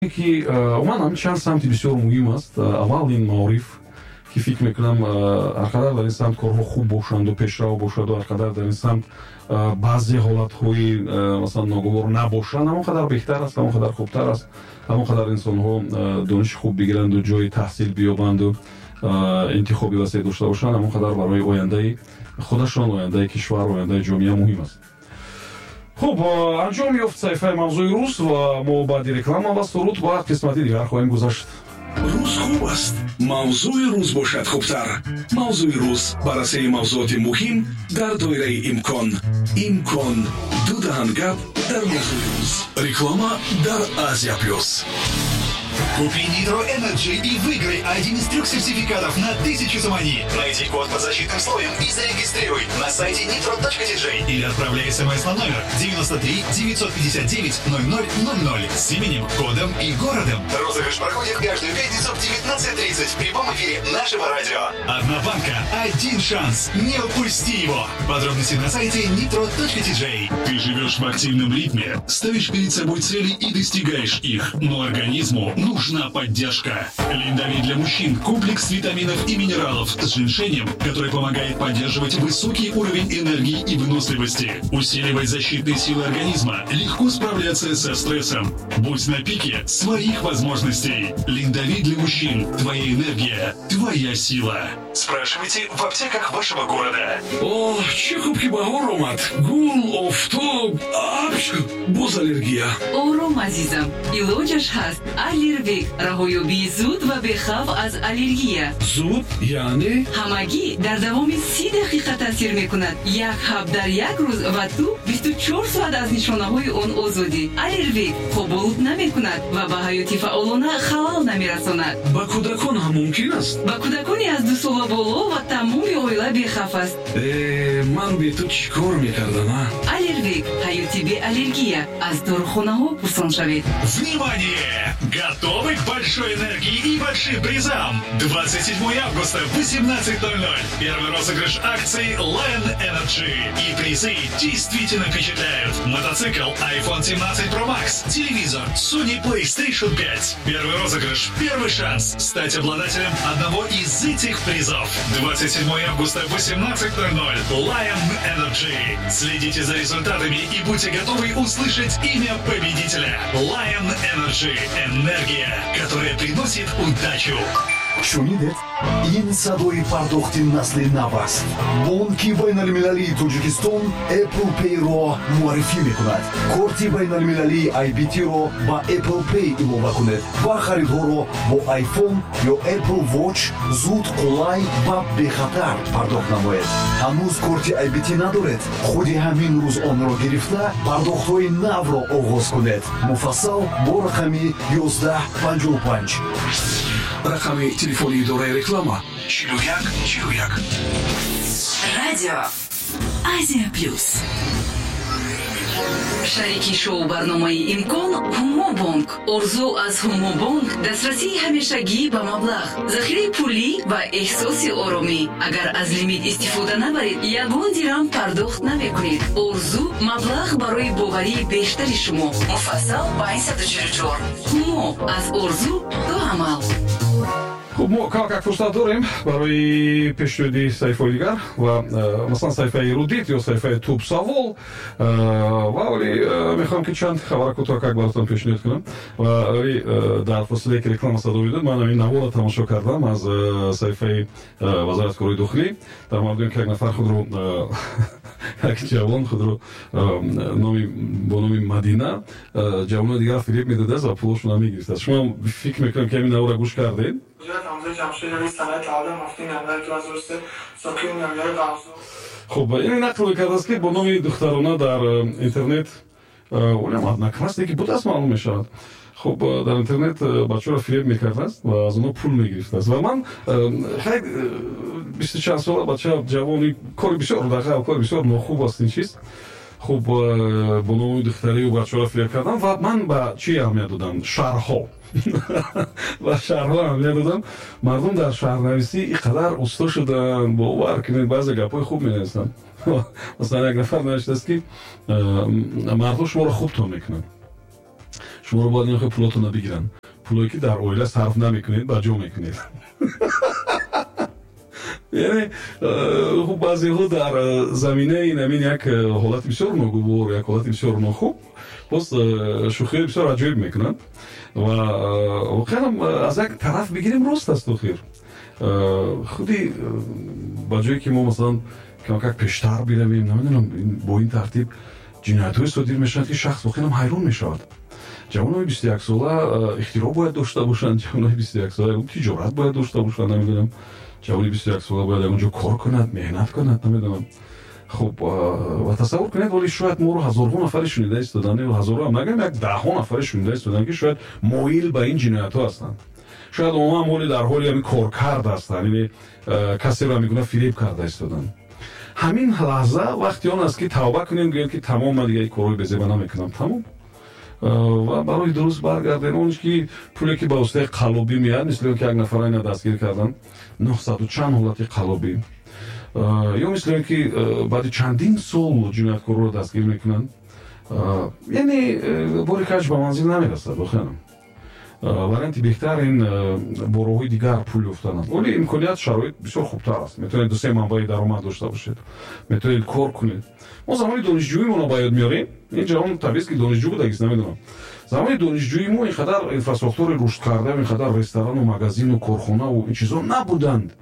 Ки умуман ҳамин чанд самти бисёр муҳим аст. Аввал ин маориф, ки фикр мекунам, ҳар қадар дар ин самт корҳо хуб бошанду пешрав бошаду, ҳар қадар дар ин самт баъзе ҳолатҳои, масалан, ногувор набошанд, ҳамон қадар беҳтар аст, ҳамон қадар хубтар аст. Ҳамон қадар инсонҳо дониши хуб бигиранду, ҷои таҳсил биёбанду, интихоби васеъ дошта бошанд, ҳамон қадар барои ояндаи худашон, ояндаи кишвар, ояндаи ҷомеа муҳим аст. Хуб, анҷом ёфт саҳифаи «Мавзӯи рӯз» ва мо баъди реклама ва суруд ба қисмати дигар хоҳем гузашт. Рӯз хуб аст, мавзӯи рӯз бошад хубтар. «Мавзӯи рӯз», баррасии мавзӯоти муҳим дар доираи имкон. Имкон ду даҳан гап дар мавзӯи рӯз. Реклама дар «Азия Плюс». Купи Nitro Energy и выиграй один из трех сертификатов на 1000 сомони. Найди код под защитным слоем и зарегистрируй на сайте nitro.tj или отправляй смс на номер 93 959 0000 с именем, кодом и городом. Розыгрыш проходит каждую пятницу в 19.30 в прямом эфире нашего радио. Одна банка, один шанс. Не упусти его. Подробности на сайте nitro.tj. Ты живешь в активном ритме, ставишь перед собой цели и достигаешь их, но организму нужна поддержка. Линдови для мужчин – комплекс витаминов и минералов с женьшенем, который помогает поддерживать высокий уровень энергии и выносливости, усиливать защитные силы организма, легко справляться со стрессом. Будь на пике своих возможностей. Линдови для мужчин. Твоя энергия, твоя сила. Спрашивайте в аптеках вашего города. Оҳ, чӣ хуб, ки баҳор омад. Гул, офтоб, апч, боз аллергия. Ором, азизам, илоҷаш ҳаст. Аллервек — раҳоёбии зуд ва бехавф аз аллергия. Зуд яъне? Ҳамагӣ дар давоми 30 дақиқа таъсир мекунад. Як ҳаб дар як рӯз ва ту 24 соат аз нишонаҳои он озодӣ. Аллервек хоболуд намекунад ва ба ҳаёти фаъолона халал намерасонад. Ба кӯдакон ҳам мумкин аст? Ба кӯдакони аз 2 сола боло ва тамоми оила бехавф аст. Э, ман бе ту чӣ кор мекардам, а? Аллервек — ҳаёти беаллергия. Аз дорухонаҳо пурсон шавед. Внимание! Готовы к большой энергии и большим призам? 27 августа, 18.00. Первый розыгрыш акции Lion Energy. И призы действительно впечатляют. Мотоцикл, iPhone 17 Pro Max, телевизор, Sony PlayStation 5. Первый розыгрыш, первый шанс стать обладателем одного из этих призов. 27 августа, 18.00. Lion Energy. Следите за результатами и будьте готовы услышать имя победителя. Lion Energy. Энергия, которая приносит удачу. Шунидед? Ин садои пардохти насли нав аст. Бонки байналмилалии Тоҷикистон Apple Pay-ро муаррифӣ мекунад. Корти байналмилалии IBT-ро ба Apple Pay илова кунед ва харидҳоро бо iPhone ё Apple Watch зуд, қулай ва бехатар пардохт намоед. Ҳанӯз корти IBT надоред? Худи ҳамин рӯз онро гирифта, пардохтҳои навро оғоз кунед. Муфассал бо рақами 1155. Рақами телефони идораи реклама: 41 41. Радио «Азия Плюс». Шарики шоу барномаи «Имкон» — Ҳумобонк. Орзу аз Ҳумобонк: дастрасии ҳамешагӣ ба маблағ, захираи пулӣ ва эҳсоси оромӣ. Агар аз лимит истифода набаред, ягон дирам пардохт намекунед. Орзу — маблағ барои боварии бештари шумо. Муфассал 544. Ҳумо: аз орзу то амал. Хуб, мо камакак фурсат дорем барои пешниҳоди саҳифаҳои дигар ва масалан, саҳифаи «Эрудит» ё саҳифаи «Туб савол». Ва вале мехоҳам, ки чанд хабара кӯтоҳакак баротон пешниҳод кунам. Ва вале дар фосилае, ки реклама садо медод, ман ҳамин наворро тамошо кардам аз саҳифаи Вазорати корҳои дохилӣ дар мавриди он, ки як нафар худро, як ҷавон худро номи бо номи Мадина ҷавонои дигар фиреб медодааст ва пулошонро мегирифтааст. Шумо фикр мекунам, ки ҳамин наворро гӯш кардед. Ҷамшед Али, санаи таваллуд 7 январи 2003, сокини ноҳияи Вахзур. Хуб, ин нақл мекардааст, ки бо номи духтарона дар интернет, олям одноклассники будааст, маълум мешавад. Хуб, дар интернет бачаҳоро фиреб мекардааст ва аз онҳо пул мегирифтааст. Ва ман хай, бисту чанд сола бача, ҷавони, кори бисёр дағал, кори бисёр нохуб аст ин чиз. Хуб, бо номи духтарию бачаҳоро фиреб кардан. Ва ман ба чӣ аҳамият додам? Шарҳҳо, ба шарҳҳо аҳамият додам. Мардум дар шарҳнависӣ ин қадар усто шуданд, бовар кунед, баъзе гапҳои хуб менависанд. Масалан, як нафар навиштааст, ки мардҳо шуморо хубтон мекунанд. Шуморо бояд ин пулотонро бигиранд, пулое ки дар оила сарф намекунед, ба ҷо мекунед. Яъне хуб, баъзеҳо дар заминаи ин як ҳолати бисёр ногувор, як ҳолати бисёр нохуб боз шӯхиҳои бисёр аҷоиб мекунанд ва воқеан аз як тараф бигирем, рост аст. Охир худи ба ҷое ки мо масалан камакак пештар биравем, намедонам, бо ин тартиб ҷиноятҳое содир мешаванд, ки шахс воқеан ҳайрон мешавад. Ҷавонои 21сола ихтироъ бояд дошта бошанд, ҷавонои 21сола тиҷорат бояд дошта бошанд, намедонам, ҷавони 21сола бояд ягон ҷо кор кунад, меҳнат кунад, намедонам. Хуб, ва тасаввур кунед, вале шояд моро ҳазорҳо нафаре шунида истоданд, ҳазорҳо ҳам нагӯем, як даҳҳо нафаре шунида истоданд, ки шояд моил ба ин ҷиноятҳо ҳастанд, шояд умуман моли дар ҳоли ҳамин коркард ҳастанд, яъне касеро ҳамин фиреб карда истоданд. Ҳамин лаҳза вақти он аст, ки тавба кунем, гӯем, ки тамом, ман дига корҳои безеба намекунам, тамом, ва барои дуруст баргардем. Он ки пуле ки ба воситаи қаллобӣ меяд, мисли он ки як нафара ина дастгир кардан, 900 чанд ҳолати қаллобӣ, ё мисли он ки баъди чандин сол ҷинояткорро дастгир мекунанд, яъне бори каҷ ба манзил намерасад. Воқеан варианти беҳтар ин бо роҳҳои дигар пул ёфтананд. Вале имконият, шароит бисёр хубтар аст, метавонед ду-се манбаи даромад дошта бошед, метавонед кор кунед. Мо замони донишҷӯимонро ба ёд меорем. Ин ҷавон табиист, ки донишҷӯ будагист, намедонам. Замони донишҷӯи мо ин қадар инфраструктураи рушд карда, ин қадар ресторану магазину корхонаву ин чизо набуданд,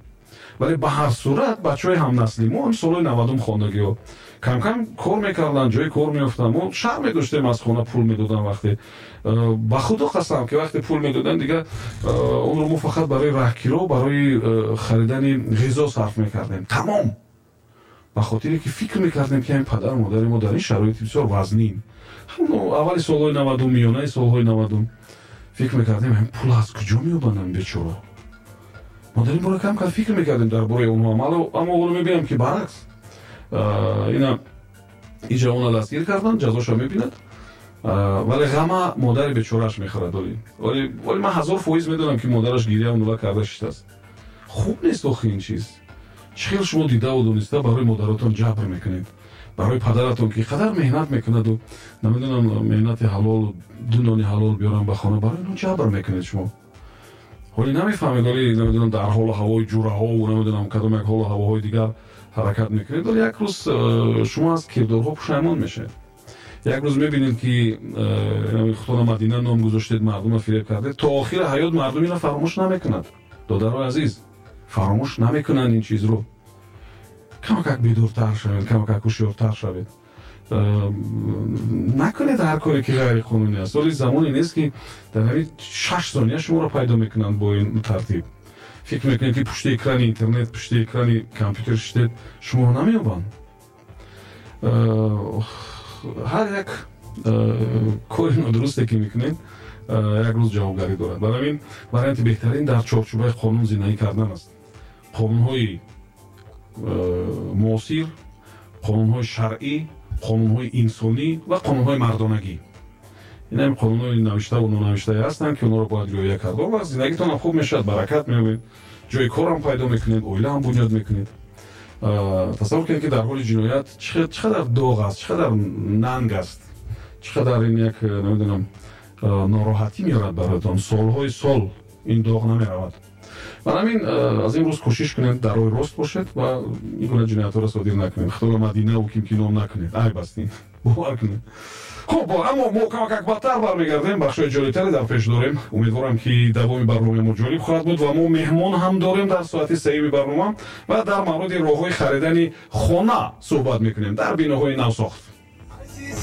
вале ба ҳар сурат бачаҳои ҳамнасли мо, ҳам солҳои 90-ум хондагиҳо, кам-кам кор мекарданд, ҷои кор меёфтанд. Мо шарм медоштем, аз хона пул медоданд. Вақте, ба худо қасам, ки вақте пул медоданд, дига онро мо фақат барои раҳкиро, барои харидани ғизо сарф мекардем, тамом. Ба хотире ки фикр мекардем, ки ҳамин падару модари мо дар ин шароити бисёр вазнин, аввали солҳои 90-ум, миёнаи солҳои 90-ум, фикр мекардем, ҳамин пул аз куҷо меёбанд бечора. Мо дар ин бора кам кам фикр мекардем дар бораи онҳо, аммо ҳоло мебинам, ки баръакс, ина ин ҷавона дастгир карданд, ҷазоша мебинад, вале ғама модари бечорааш мехӯрад. Вале ман 1000% медонам, ки модараш гиря нула карда шиштааст. Хуб нест охи ин чиз. Чӣ хел шумо дидаву дониста барои модаратон ҷабр мекунед, барои падаратон, ки қадар меҳнат мекунаду, намедонам, меҳнати ҳалолу ду нони ҳалол биёрам ба хона, барои инҳо ҷабр мекунед шумо. Ҳоле намефаҳмед, ҳоле намедонам, дар ҳолу ҳавои ҷураҳову намедонам кадом як ҳолу ҳавоҳои дигар ҳаракат мекунед, вале як рӯз шумо аз кирдорҳо пушаймон мешавед. Як рӯз мебинед, ки худтона Мадина ном гузоштед, мардумро фиреб кардед, то охири ҳаёт мардум ина фаромӯш намекунад. Додарои азиз, фаромӯш намекунанд ин чизро. Камакак бедортар шавед, камакак ҳушёртар шавед, накунед ҳар коре ки ғайриқонунӣ аст. Вале замоне нест, ки дар ҳамин 6 сония шуморо пайдо мекунанд. Бо ин тартиб фикр мекунед, ки пушти экрани интернет, пушти экрани компютер шиштед, шуморо намеёбанд. Ҳар як кори нодурусте ки мекунед, як рӯз ҷавобгарӣ дорад. Барои ҳамин варианти беҳтарин дар чорчӯбаи қонун зиндагӣ кардан аст. Қонунҳои муосир, қонунҳои шаръӣ, қонунҳои инсонӣ ва қонунҳои мардонагӣ. Ин ҳам қонунҳои навиштаву нонавиштае ҳастанд, ки онҳоро бояд риоя кард. Он вақт зиндагитонам хуб мешавад, баракат меёбед, ҷои корам пайдо мекунед, оилаам бунёд мекунед. Тасаввур кунед, ки дар ҳоли ҷиноят чӣ қадар доғ аст, чӣ қадар нанг аст, чӣ қадар ин як, намедонам, нороҳатӣ меорад бароятон. Солҳои сол ин доғ намеравад. Барои ҳамин аз ин рӯз кӯшиш кунед, дар роҳи рост бошед ва ин гуна ҷиноятҳоро содир накунед. Худоро Мадинаву ким ки ном накунед, айб аст ин, бовар кунед. Хуб, аммо мо камакак бадтар бармегардем, бахшҳои ҷолибтаре дар пеш дорем. Умедворам, ки давоми барномаи мо ҷолиб хоҳад буд ва мо меҳмон ҳам дорем дар соати сеюми барнома ва дар мавриди роҳҳои харидани хона суҳбат мекунем дар биноҳои навсохт.